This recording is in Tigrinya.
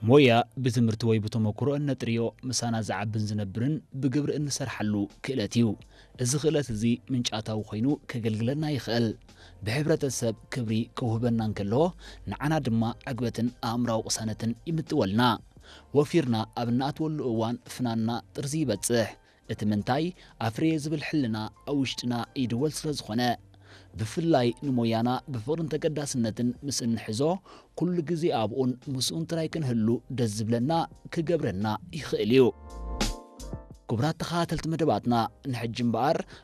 ሞያ ብትምህርቲ ወይ ብተመክሮ እነጥርዮ፣ ምሳና ዝዓብን ዝነብርን ብግብሪ እንሰርሓሉ ክእለት እዩ። እዚ ክእለት እዚ ምንጫታዊ ኮይኑ ከገልግለና ይኽእል። ብሕብረተሰብ ክብሪ ከውህበና እንከሎ፣ ንዓና ድማ ዕግበትን ኣእምራዊ ቅሳነትን ይምጥወልና። ወፊርና ኣብ እናኣትወሉ እዋን ፍናንና ጥርዚ ይበጽሕ። እቲ ምንታይ ኣፍርየ ዝብል ሕልና ኣብ ውሽጥና ይድወል ስለ ዝኾነ፣ ብፍላይ ንሞያና ብፍቕርን ተገዳስነትን ምስ እንሕዞ፣ ኩሉ ግዜ ኣብኡን ምስኡን ጥራይ ክንህሉ ደስ ዝብለና ክገብረና ይኽእል እዩ። ክቡራት ተኸታተልቲ መደባትና፣ ንሕጂ እምበኣር